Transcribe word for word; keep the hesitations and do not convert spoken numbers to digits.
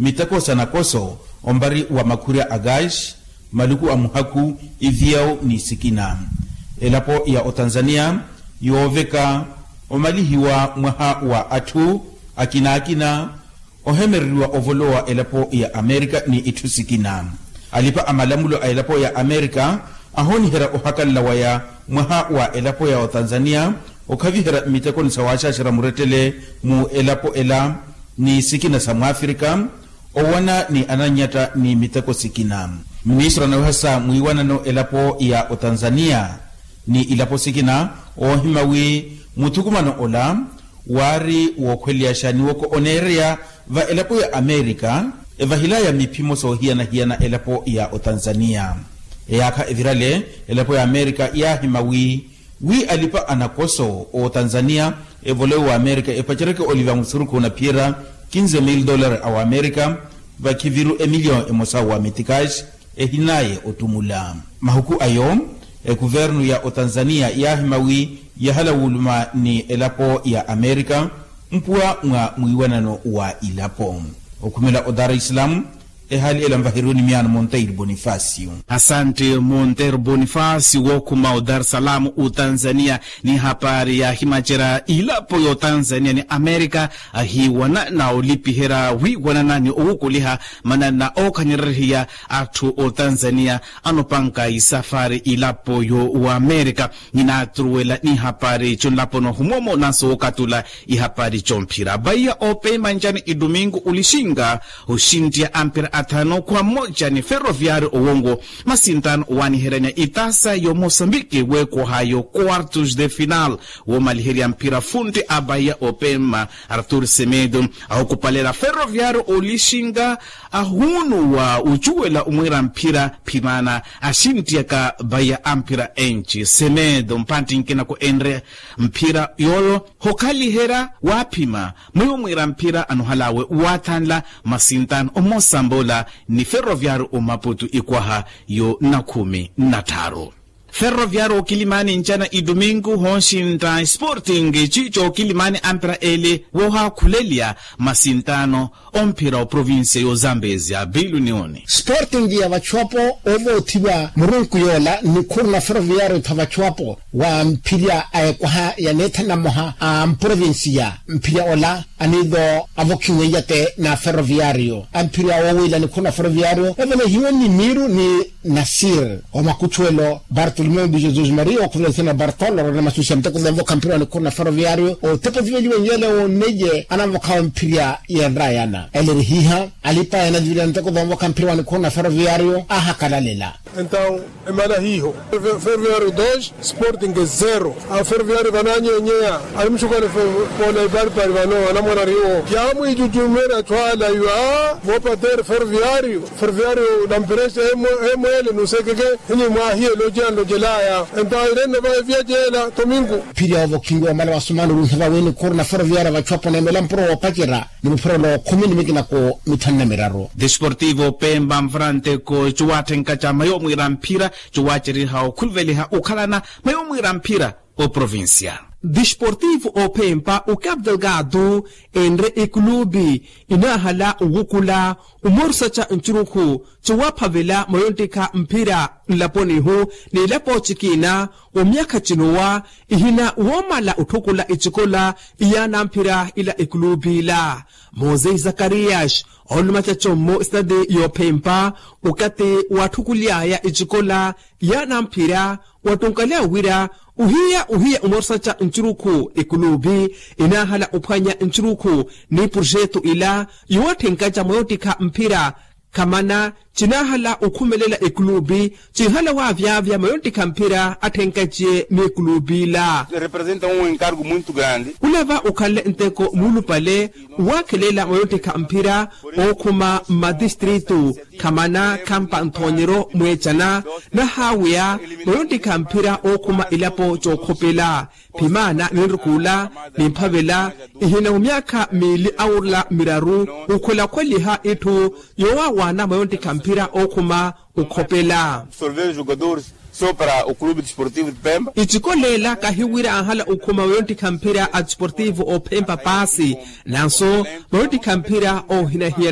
Miteko sa nakoso ompari wa makhurya a gaasi, maluku a muhakhu, iviyawu ni sikina. Elapo ya otanzaniya yooveka omalihiwa mwaha wa atthu akina akina ohemereriwa ovolowa elapo ya amerika ni itthu sikina. Alipa a malamulo a elapo ya amerika ahooniherya ohakanla waya mwaha wa elapo ya otanzaniya okhaviherya mmitekoni sa waaxaaxerya murettele mu elapo ela ni sikina sa mwafrika owana ni anannyatta ni miteko sikina. Ministru anawehasa mwiiwanano elapo ya otanzaniya ni ilapo sikina oohima wi muthukumano ola waari wookhweleyaxa ni woko oneereya va elapo ya amerika evahilaya miphimo soohiyana-hiyana elapo ya otanzaniya. Eyaakha evirale elapo ya amerika yaahima wi wi alipa a nakoso otanzaniya evolowe wa amerika epaceryeke oliva musurukhu na phiyerya kinze mil dollar a wa amerika vakhiviru emilyon emosa wa mitikaxi ehinaaye ottumula. Mahuku ayo ekuvernu ya otanzaniya yaahima wi yahala wuuluma ni elapo ya amerika mpuwa mwa mwiiwanano wa ilapo. Okhumela odar islam ehaali ela nvaheriwe ni miyaano monteiro bonifacio. Asante monteiro bonifacio wookhuma odar salam otanzaniya. Ni hapari yaahimacerya ilapo y'otanzaniya ni amerika ahiiwana na olipiherya wiiwanana ni owukuliha manana ookhanyererehiya atthu otanzaniya anopanka isafari ilapo yo wa amerika. Ninaatturuwela ni hapari conlapo nohumwomo nanso wookatula ihapari comphira baiya opema ncani idumingu olixinga oxintiya amphira athanu khwa mmoja ni ferroviario owongo masintano owaaniheryanya itasa yo mosambiki weekwahayo quartos de final woomaliherya mphira funti a baiya opema artur semedo ahukupalela ferroviario olixinga ahuunuwa ocuwela omwiira mphira phimana axintiyaka baiya amphira enci semedo mpantti nkinako enre mphira yooyo hokhaliherya waaphima mwiwo mwiira mphira anohalawe waathanla masintano omosambola ni ferroviario omaputu ikwaha yo nakhumi na tthaaru. Ferroviario okilimani ncana idumingu honxintta sporting ciico okilimani ampira ele woohaakhuleliya masintano omphira oprovincia y'ozambezia bilu nioni. Sporting ya vachuapo ovoothiwa murunku yoola nikhuru na ferroviario tha vachuapo wa mphirya a ekwaha ya neethana mmoha a mprovincia mphirya ola aniido avokhiweiya te na ferroviario amphirya woowiila nikhuru na ferroviario evelehiwe ni miiru ni nasir omakuchuwelo bartolomeo di jesus maria okhuvela ithina bartolo rona masusi ya muteko vomvokha mphirya wa nikhuru na ferroviario otepo viveliwe nyele wonneiye anamvokhawe mphirya yenrayana elerihiha alipa yanaviveliwa nteko vomvokha mphirya wa nikhuru na ferroviario ahakalalela. Entaw emala hiiho ferroviario dos sporting zero. Aferroviario vananyenyeya alimuxukale poola iparipari vano anamwarariwo yaamwicucumera thwala iwa vopatere ferroviario ferroviario namperexa emwele nusekeke hini mwaahiye loceya nlocelaya entaw irennova evyaceela tomingu. Phiri awo vokhingiwa omala wasumana oruiha vawe nikhuru na ferroviario vachuapo neemela mpuro woopacerya ni muphurelo khumi ni mikinako mithanu na miraru. Desportivo pemba mfuranteko cuwaatthenka ca mayo mwiira mphira cuwaaceriha okhuluveliha okhalana mayo mwiira mphira oprovincia. Desportivo ophempa ocapital gado enre ekulubi inaahala owukula omorusaca ncurukhu cuwaphavela mayo nttikha mphira nlaponihu ni ilapo cikina omyakha cinowa ihina woomala otthukula icikola iyaana mphira ila ekulubi ila. Mose zakarias ooluma caco mmo esitadi yoophempa okathi waatthukuly'aya icikola yaana mphira wattunkalya wira ohiya ohiya omorusaca ncurukhu ekulubi inaahala ophwanya ncurukhu ni purxetu ila yoowatthenkaca mwa yoottikha mphira khamana cinaahala okhumelela ekulubi cinhala waavyavya mwa yoottikha mphira atthenkaciye ni ekulubi ila. Representa um encargo muito grande. Olava okhanle nteko muulupale owaakhelela mwa yoottikha mphira ookhuma mmatistritu khamana khampa nthoonyeryo mweecana nahaaweya mwa yoottikha mphira ookhuma elapo cookhopela phimaana ninrukula nimphavela ihina omyaakha miili awurula miraru okhwelakhweliha itthu yoowawaana mwa yoottikha mphira ookhuma okhopela. Icikolela kahiwira anhala okhuma mwa yoottikha mphira a desportivo ophempa paasi nanso mwa yoottikha mphira oohinahiyana.